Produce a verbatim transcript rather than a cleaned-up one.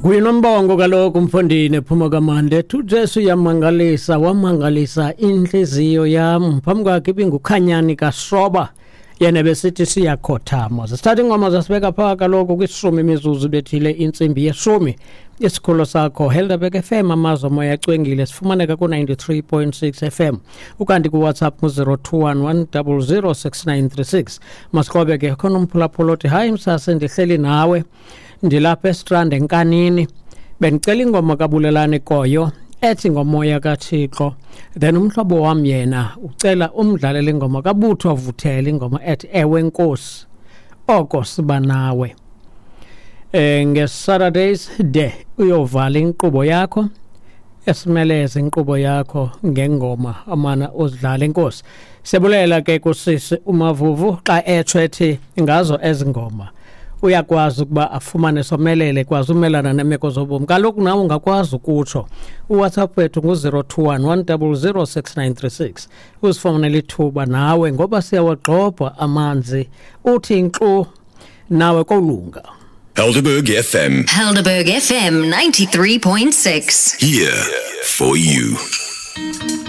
Kuyinombongo kaloku mfondini ephuma kamande ethi uJesu uyamangalisa, wamangalisa inhliziyo yam. Phambi kwakhe ibingukhanyani kaSoba, yena besithi siyakhothama. Sithatha ingoma zasibeka phaa kaloku kwishumi imizuzu bethile intsimbi yeshumi. Isikhululo sakho Helderberg F M, amazwi omoya acwengile, sifumaneka ku-ninety-three point six F M, ukanti kuWhatsApp ngu-zero two one one zero zero six nine three six. Masiqobe ke khona umphulaphula othi, "Hayi msase, ndihleli nawe, ndilapha eStrand enkanini, bendicela ingoma kaBulelani Koyo ethi Ngomoya kaThixo." Then umhlobo wam yena ucela umdlalele ingoma kaButho Vuthela, ingoma ethi Ewe Nkosi Oko Siba Nawe. eh nge-Saturdays de uyovala inkqubo yakho, esimeleze inkqubo yakho ngengoma amana uzidlala. Inkosi siyabulela ke kusisi uMavuvu xa etsho ethi ngazo ezi ngoma uyakwazi ukuba afumane somelele, kwazi umelana neemeko zobomi. Kaloku nawe ungakwazi ukutsho. UWhatsApp wethu ngu-zero two one one zero zero six nine three six, uzifumanele ithuba nawe ngoba siyawagxobha amanzi, uthi nkxu nawe kolunga. Helderberg F M. Helderberg F M ninety-three point six. Here for you.